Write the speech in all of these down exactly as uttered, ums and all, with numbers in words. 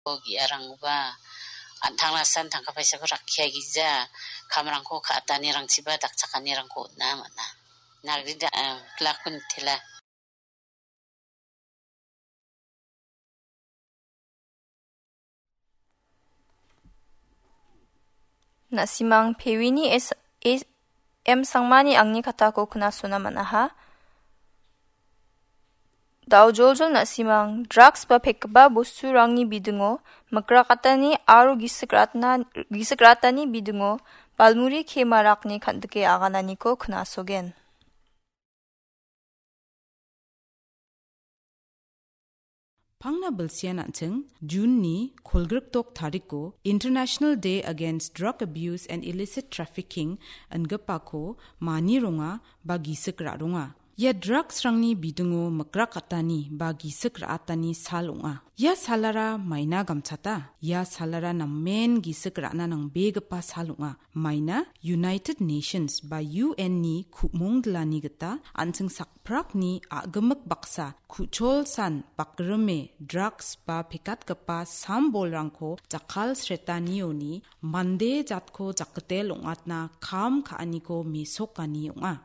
Ko ge·arangba an·tangnasan tangka paisako rakkiagija, kamrangko ka·atanirangchiba dakchakanirangko on·a man·a. Nagrida, eh, plakuntila. Na·simang Pewini S-, S-, M Sangmani angni katako knasona man·aha. Daojoljol na·simang, drugs ba pekgipa bosturangni bidingo, mikrakatani aro gisik ratna-, gisik ratani bidingo, balmuri kemarakni kan·dike agananiko knasogen. Pangna bilsian an·ching, June-ni kolgrikdok tariko International Day Against Drug Abuse and Illicit Trafficking ingipako mani ronga ba gisik ra·ronga. Ia drugs-rangni bidingo mikrakatani ba gisik ra·atani sal ong·a. Ia salara maina gamchata. Ia salara namen gisik ra·na nangbegipa sal ong·a. Maina United Nations ba U N-ni ku·mongdilani gita an·ching sakprakni a·gimik baksa ku·cholsan bakrime drugs ba pekatgipa sam-bolrangko jakkalsretanioni mande jatko jakkitel ong·atna kam ka·aniko mesokani ong·a.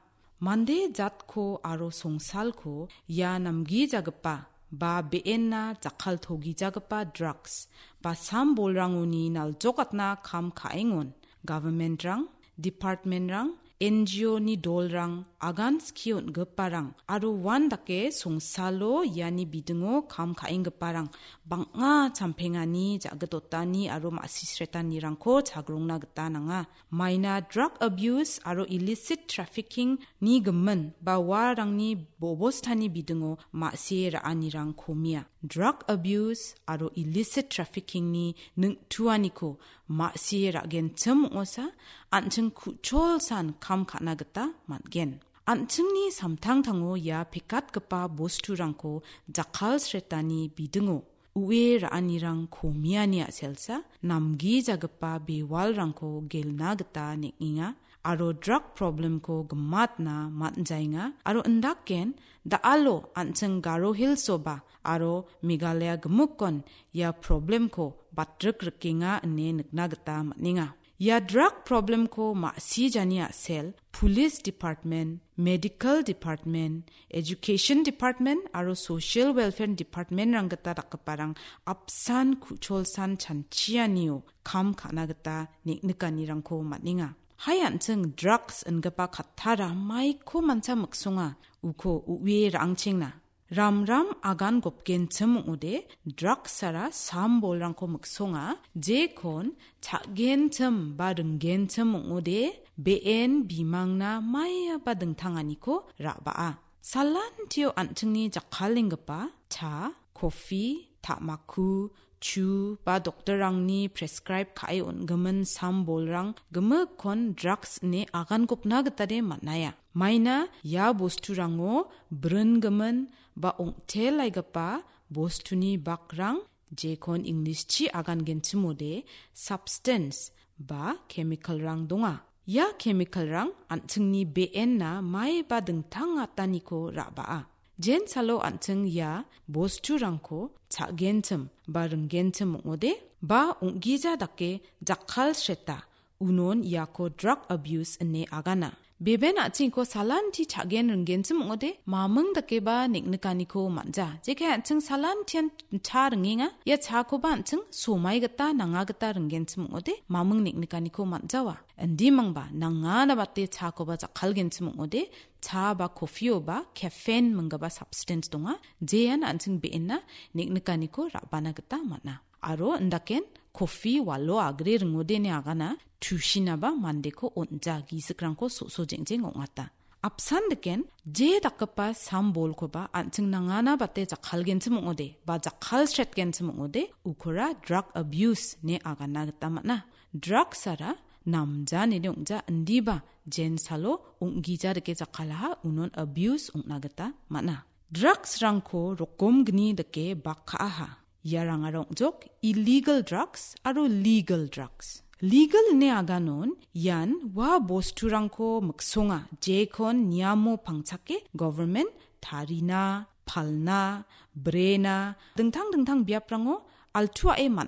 Mande jatko aro songsalko ia namgijagipa ba be·enna jakkaltogijagipa drugs ba sam-bolrangoni naljokatna kam ka·engon, government-rang, department-rang, N G O-ni dolrang, agan skie on·giparang aro uandake songsalo iani bidingo kam ka·enggiparang bang·a champengani, ja·gitotani aro ma·sisretanirangko chagrongna gita nanga. Maina drug abuse aro illicit trafficking-ni gimin ba uarangni bobostani bidingo ma·sie ra·anirang komia. Drug abuse aro illicit trafficking-ni ningtuaniko ma·sie ra·genchim ong·osa, an·ching ku·cholsan kam ka·na gita man·gen. An·chingni samtangtango ia pekatgipa bosturangko jakkalsretani bidingo ue ra·anirang komiani a·selsa namgijagipa bewalrangko gelna gita neng·enga aro drug problem-ko gimatna man·jaenga aro indaken da·alo an·ching Garo Hills-oba aro Meghalaya gimikkon ia problem-ko batrik rikenga ine nikna gita man·enga. Ia drug problem-ko ma·sijani a·sel, Police Department, Medical Department, Education Department aro Social Welfare Department-rang gita dakgiparang apsan ku·cholsan chanchianio kam ka·na gita neng·nikanirangko man·enga. Hai an·ching drugs ingipa kattara maiko mancha miksonga, uko u·e ra·angchengna. Ramram agan gopgenchim ong·ode, drugsara sam-bolrangko miksonga, jekon cha·genchim ba ringgenchim ong·ode, be·en bimangna maiaba dingtanganiko ra·baa. Salantio an·chingni jakkalenggipa cha, kofi, ta·makku, chu ba doktorrangni prescribe ka·e on·gimin sam-bolrang gimikkon drugs ine agan gopna gitade man·aia. Maina ia bosturango bringimin ba ong·telaigipa bostuni bakrang, jekon English-chi agangenchimode substance ba chemical-rang donga. Ia chemical-rang an·chingni be·enna maiba dingtang ataniko ra·baa. Jensalo an·ching ia bosturangko cha·genchim ba ringgenchim ong·ode ba ong·gija dake jakkalsreta, unon iako drug abuse ine agana. Beben a·chingko salanti cha·gen ringgenchim ong·ode, maming dakeba neng·nikaniko man·ja. Jekai an·ching salantian cha ringenga, ia chakoba an·ching somai gita, nanga gita ringgenchim ong·ode, maming neng·nikaniko man·jawa. Indimangba, nangana bate chakoba jakkalgenchim ong·ode, cha ba kofioba caffeine minggipa substance donga, jean an·ching be·enna neng·nikaniko ra·bana gita man·a. Aro indaken kofi walo agre ringode ine agana, tusinaba mandeko on·ja, gisikrangko so·so jeng·jeng ong·ata. Apsan deken, je dakgipa sam-bolkoba an·ching nangana bate jakkalgenchim ong·ode, ba jakkalsretgenchim ong·ode, ukora drug abuse ine agana gita man·a. Drugsara namja ine ong·ja, indiba jensalo ong·gija dake jakkalaha, unon abuse ong·na gita man·a. Drugsrangko rokom gni dake bak ka·aha. Iarangara ong·jok illegal drugs aro legal drugs. Legal ine aganon ian ua bosturangko miksonga, jekon niamo pangchake government tarina, palna, brena, dingtang dingtang biaprango altuae man·a.